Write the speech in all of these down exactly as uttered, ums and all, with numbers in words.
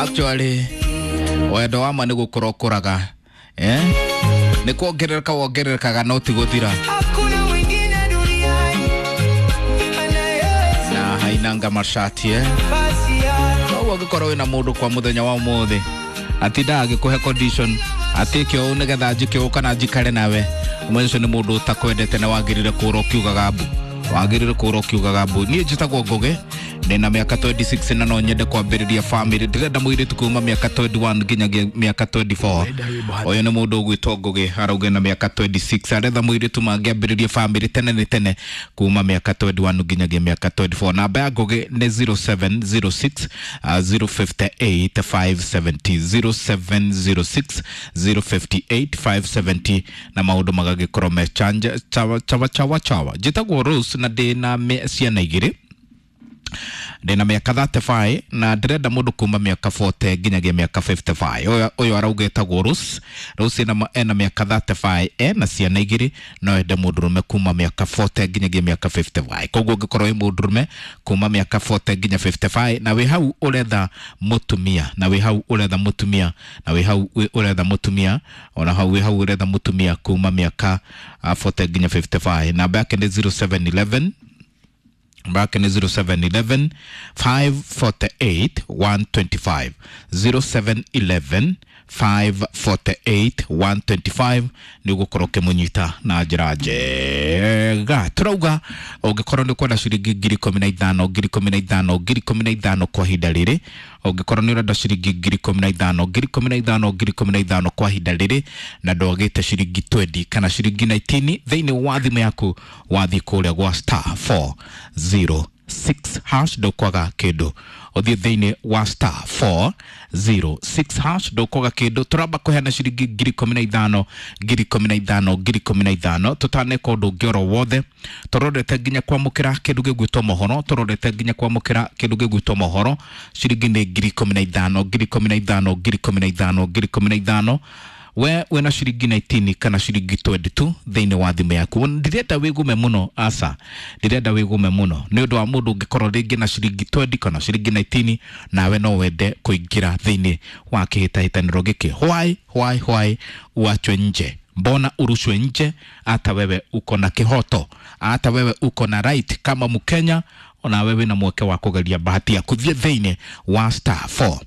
Actually wendo wa ma nĩ gũkũra ũkũraga, eh? Nĩ kuongerereka wongererekaga no ti gũthira. Hakuna mwingine duniani anayeweza Na hainanga mashati, eh? nafasi yako. Koguo ũngĩkorwo wĩna mũndũ kwa mũthenya wa ũmũthĩ atindaga agĩkũhe condition atĩke ũũ nĩgetha njĩke ũũ kana njikare nawe, ũmenye ũcio nĩ mũndũ ũtakwendete na wagĩrĩire kũũra ũkiugaga mbu, wagĩrĩire kũũra ũkiugaga mbu. Niĩ njĩtagwo Ngũgĩ, ndĩna mĩaka mĩrongo ĩrĩ na ĩtandatu na no nyende kwambĩrĩria family. Ndĩrenda mũirĩtu kuma mĩaka mĩrongo ĩrĩ na ĩmwe nginyagia mĩaka mĩrongo ĩrĩ na ĩna. Ũyũ nĩ mũndũ ũgwĩtwo Ngũgĩ, arauga na mĩaka mĩrongo ĩrĩ na ĩtandatu, aretha mũirĩtu mangĩambĩrĩria family tene nĩ tene kuma mĩaka mĩrongo ĩrĩ na ĩmwe nginyagia mĩaka mĩrongo ĩrĩ na ĩna. Namba ya Ngũgĩ nĩ zero seven zero six uh, zero five eight five seven zero, zero seven zero six zero five eight five seven zero, na maũndũ magagĩkorwo me chanja chawa chawa chawa chawa. Njĩtagwo Rose na ndĩna mĩ- ciana igĩrĩ, ndĩna mĩaka mĩrongo ĩtatũ na ĩtano na ndĩrenda mũndũ kuma mĩaka mĩrongo ĩna nginyagia mĩaka mĩrongo ĩtano na ithano. Ũyũ ũyũ arauga etagwo Rose. Rose ena, ena mĩaka mĩrongo ĩtatũ na ĩtano, ena ciana igĩrĩ, no ende mũndũrũme kuma mĩaka mĩrongo ĩna nginyagia mĩaka mĩrongo ĩtano na ithano. Koguo ũngĩkorwo wĩ mũndũrũme kuma mĩaka mĩrongo ĩna nginya mĩrongo ĩtano na ithano na wĩ hau ũretha mũtumia, na wĩ hau ũretha mũtumia, na wĩ hau wĩ- ũretha mũtumia, ona hau wĩ hau ũretha mũtumia kuma mĩaka ah, mĩrongo ĩna nginya mĩrongo ĩtano na ithano, namba yake nĩ zero seven one one, namba yake nĩ zero seven one one five four eight one two five, zero seven one one five four eight one two five. Nĩ ũgũkorwo ũkĩmũnyita na njĩra njega. Tũrauga ũngĩkorwo nĩ ũkwenda ciringi ngiri ikũmi na ithano, ngiri ikũmi na ithano, ngiri ikũmi na ithano kwa ihinda rĩrĩ, ũngĩkorwo nĩ ũrenda ciringi ngiri ikũmi na ithano, ngiri ikũmi na ithano, ngiri ikũmi na ithano kwa ihinda rĩrĩ, na ndwagĩte ciringi mĩrongo ĩrĩ kana ciringi ikũmi na kenda thĩinĩ wa thimũ yaku, wathiĩ kũrĩa gwa star four zero six hash, ndũkwaga kĩndũ. Ũthiĩ thĩinĩ wa star four zero six hash, ndũkwaga kĩndũ. Tũramba kũheana ciringi ngiri ikũmi na ithano, ngiri ikũmi na ithano, ngiri ikũmi na ithano, tũtaneka ũndũ ũngĩ oro wothe. Tũrorete nginya kwamũkĩra kĩndũ gĩgwĩtwo mohoro, tũrorete nginya kwamũkĩra kĩndũ gĩgwĩtwo mohoro. Ciringi nĩ ngiri ikũmi na ithano, ngiri ikũmi na ithano, ngiri ikũmi na ithano, ngiri ikũmi na ithano. We wĩna ciringi ikũmi na kenda kana ciringi mĩrongo ĩrĩ na igĩrĩ thĩinĩ wa thimũ yaku, ndirenda wĩgume mũno, aca, ndirenda wĩgume mũno nĩ ũndũ wa mũndũ ũngĩkorwo rĩngĩ na ciringi mĩrongo ĩrĩ kana ciringi ikũmi na kenda nawe no wende kũingĩra thĩinĩ wa kĩhĩtahĩtanĩro gĩkĩ. Why, why, why uachwe nje? Mbona urushwe nje? Hata wewe uko na kihoto, hata wewe uko na right kama Mkenya, ona wewe na mweke wa kũgeria bahati yaku. Thiĩ thĩinĩ wa star four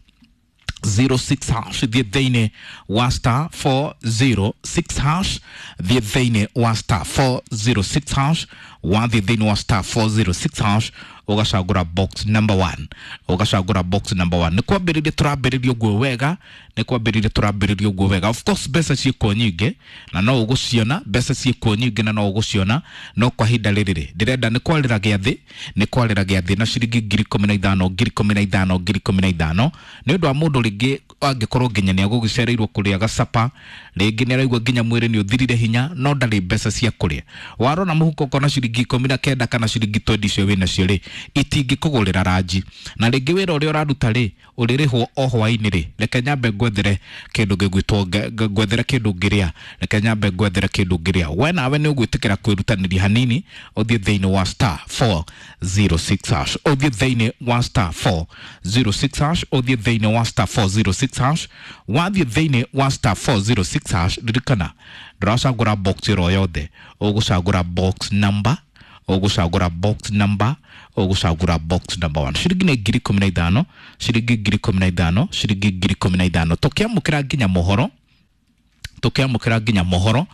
zero six hash, thiĩ thĩinĩ wa star four zero six hash, thiĩ thĩinĩ wa star four zero six hash. Wathiĩ thĩinĩ wa star four zero six hash, ũgacagũra box number one, ũgacagũra box number one. Nĩ kwambĩrĩria tũrambĩrĩria ũguo wega, nĩ kwambĩrĩria tũrambĩrĩria ũguo wega. Of course mbeca ciĩkuo nyingĩ na no ũgũciona, mbeca ciĩkuo nyingĩ na no ũgũciona, no kwa ihinda rĩrĩ rĩ ndĩrenda nĩ kwarĩra gĩathĩ, nĩ kwarĩra gĩathĩ na ciringi ngiri ikũmi na ithano, ngiri ikũmi na ithano, ngiri ikũmi na ithano, nĩ ũndũ wa mũndũ rĩngĩ angĩkorwo nginya nĩ agũgĩcereirwo kũrĩa gacapa, rĩngĩ nĩ araigua nginya mwĩrĩ nĩ ũthirire hinya no ndarĩ mbeca cia kũrĩa. Warora mũhuko ũkona ciringi ikũmi na kenda kana ciringi mĩrongo ĩrĩ icio wĩnacio rĩ, itingĩkũgũrĩra ranji, na rĩngĩ wĩra ũrĩa ũraruta rĩ, ũrĩrĩhwo o hwaĩ-inĩ rĩ, reke nyambe ngwethere kĩndũ gĩgwĩtwo nge- nge- ngwethere kĩndũ ngĩrĩa, reke nyambe ngwethere kĩndũ ngĩrĩa. We nawe nĩ ũgwĩtĩkĩra kwĩrutanĩria hanini, ũthiĩ thĩinĩ wa star four zero six hash, ũthiĩ thĩinĩ wa star four zero six hash, ũthiĩ thĩinĩ wa star four zero six hash. Wathiĩ thĩinĩ wa star four zero six hash, ririkana ndũracagũra box ĩro yothe, ũgũcagũra box number, ũgũcagũra box number, ũgũcagũra box number one. Ciringi nĩ ngiri ikũmi na ithano, ciringi ngiri ikũmi na ithano, ciringi ngiri ikũmi na ithano. Tũkĩamũkĩra nginya mohoro, tũkĩamũkĩra nginya mohoro,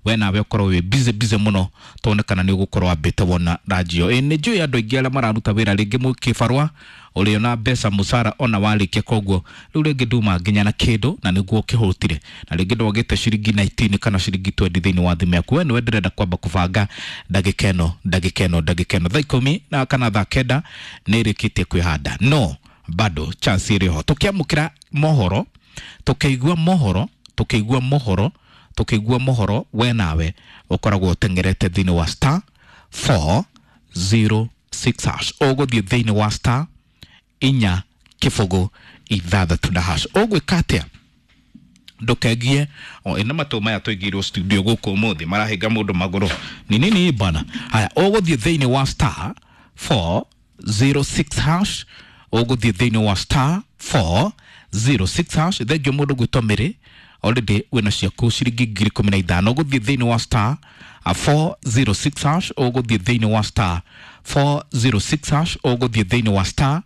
we nawe ũkorwo wĩ busy busy mũno, tuone kana nĩ ũgũkorwo wambĩte wona ranjio. Ĩ nĩ njũĩ andũ aingĩ arĩa mararuta wĩra rĩngĩ mũkĩbarũa ũrĩona mbeca mũcara ona warĩkia, koguo rĩu rĩngĩ nduma nginya na kĩndũ na nĩguo ũkĩhũtire, na rĩngĩ ndwagĩte ciringi ikũmi na kenda kana ciringi mĩrongo ĩrĩ thĩinĩ wa thimũ yaku. We nĩwe ndĩrenda kwamba kũbanga ndagĩka ĩno, ndagĩka ĩno, ndagĩka ĩno, thaa ikũmi na kana thaa kenda nĩ ĩrĩkĩtie kwĩhanda, no bado chance ĩrĩ ho. Tũkĩamũkĩra mohoro, tũkĩigua mohoro, tũkĩigua mohoro, tũkĩigua mohoro, we nawe ũkoragwo ũteng'erete thĩinĩ wa star four zero six hash. Ũgũthiĩ thĩinĩ wa star inya kĩbũgũ ithathatũ na hash. Ũgwĩka atĩa? Ndũkengie o ĩna matũ maya tũigĩirwo studio gũkũ ũmũthĩ marahinga mũndũ magũrũ ni nini bana. Haya, ũgũthiĩ thĩinĩ wa star four zero six hash, ũgũthiĩ thĩinĩ wa star zero six hash. Thengio mũndũ gwĩtwo Mary, already wĩna ciaku ciringi ngiri ikũmi na ithano. Ũgũthiĩ thĩinĩ wa star four zero six hash, ũgũthiĩ thĩinĩ wa star four zero six hash, ũgũthiĩ thĩinĩ wa star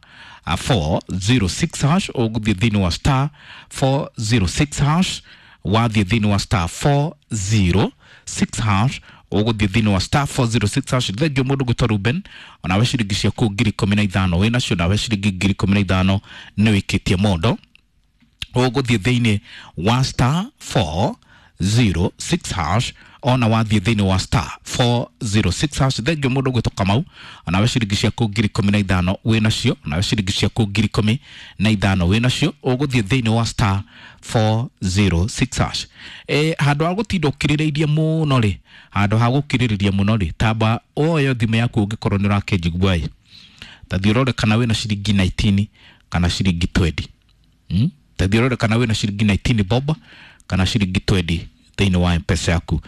four zero six hash, ũgũthiĩ thĩinĩ wa star four zero six hash, wathiĩ thĩinĩ wa star four zero six hash, ũgũthiĩ thĩinĩ wa star four zero six hash. Thengio mũndũ gwĩtwo Ruben, onawe ciringi ciaku ngiri ikũmi na ithano wĩ nacio, nawe ciringi ngiri ikũmi na ithano nĩ wĩkĩtie mondo. Ũgũthiĩ thĩinĩ wa star four zero six hash, ona wathiĩ thĩinĩ wa star four zero six hash. Thengio mũndũ gwĩtwo Kamau, onawe ciringi ciaku ngiri ikũmi na ithano wĩ nacio, onawe ciringi ciaku ngiri ikũmi na ithano wĩ nacio. Ũgũthiĩ thĩinĩ wa star four zero six hash. E, handũ ha gũtinda ũkirĩrĩirie mũno rĩ, handũ ha gũkirĩrĩria mũno rĩ, tamba oyo thimũ yaku ũngĩkorwo nĩ ũrakĩnjigua ĩ, ta thiĩ ũrore kana wĩna ciringi nineteen kana ciringi twenty. Hmm? Ta thiĩ ũrore kana wĩna ciringi nineteen bob kana ciringi twenty thĩinĩ wa M-Pesa yaku.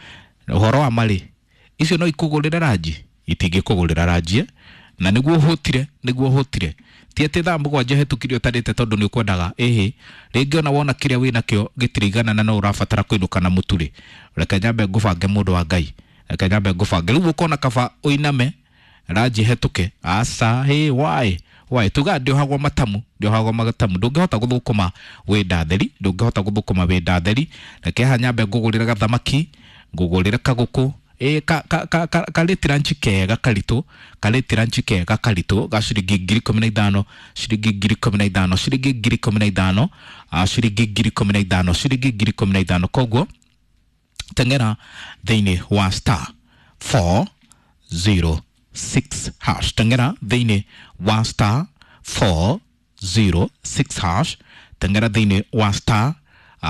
Ũhoro wa marĩ, icio no ikũgũrĩre ranji? Itingĩkũgũrĩra ranji, na nĩguo ũhũtire, nĩguo ũhũtire. Ti atĩ thaa mũgwanja hetũkire ũtarĩte tondũ nĩ ũkwendaga, ĩhĩ, rĩngĩ ona wona kĩrĩa wĩnakĩo gĩtirigana na no ũrabatara kũinũka na mũtu-rĩ, reke nyambe ngũbange mũndũ wa Ngai, reke nyambe ngũbange. Rĩu ũkona kaba ũiname ranji hetũke, aca, hĩ, why? Why? Tuga ndĩohagwo matamu, ndĩohagwo matamu. Ndũngĩhota gũthũkũma wĩ ndatheri, ndũngĩhota gũthũkũma wĩ ndatheri. Reke haha nyambe ngũgũrĩre gathamaki, ngũgũrĩre kagũkũ, ĩ ka ka ka ka karĩti ranchi kega karitũ, karĩti ranchi kega karitũ ga ciringi ngiri ikũmi na ithano, ciringi ngiri ikũmi na ithano, ciringi ngiri ikũmi na ithano, ciringi ngiri ikũmi na ithano, ciringi ngiri ikũmi na ithano. Koguo teng'era thĩinĩ wa star four zero six hash, teng'era thĩinĩ wa star four zero six hash, teng'era thĩinĩ wa star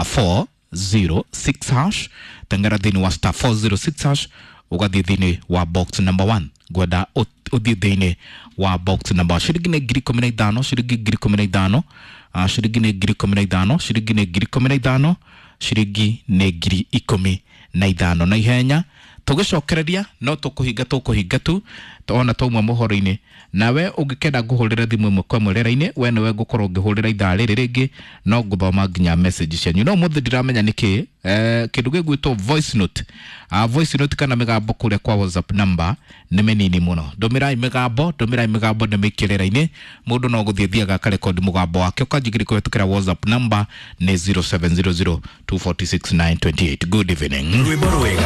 four zero six hash, teng'era thĩinĩ wa star four zero six hash, ũgathiĩ thĩinĩ wa box number one. Ngwenda ũthiĩ thĩinĩ wa box number one. Ciringi nĩ ngiri ikũmi na ithano, ciringi ngiri ikũmi na ithano, ciringi nĩ ngiri ikũmi na ithano, ciringi nĩ ngiri ikũmi na ithano, ciringi nĩ ngiri ikũmi na ithano. Na ihenya tũgĩcokereria no tũkũhinga tũkũhinga tu ona twauma mohoro-inĩ. Nawe ũngĩkenda ngũhũrĩre thimũ ĩmwe kwa ĩmwe rĩera-inĩ, we nĩwe ngũkorwo ngĩhũrĩra ithaa rĩrĩ rĩngĩ, no ngũthoma nginya message cianyu. No ũmũthĩ ndiramenya nĩkĩ, eh, kĩndũ gĩgwĩtwo voice note, uh, voice note kana mĩgambo kũrĩa kwa WhatsApp number nĩ mĩnini mũno. Ndũmĩrai mĩgambo, ndũmĩrai mĩgambo ndĩmĩikie rĩera-inĩ. Mũndũ no gũthiĩ thiaga akarekondi mũgambo wake ũkanjigĩrĩria kũhetũkĩra WhatsApp number nĩ zero seven zero zero two four six nine two eight. Good evening. Rwĩmbo rwega.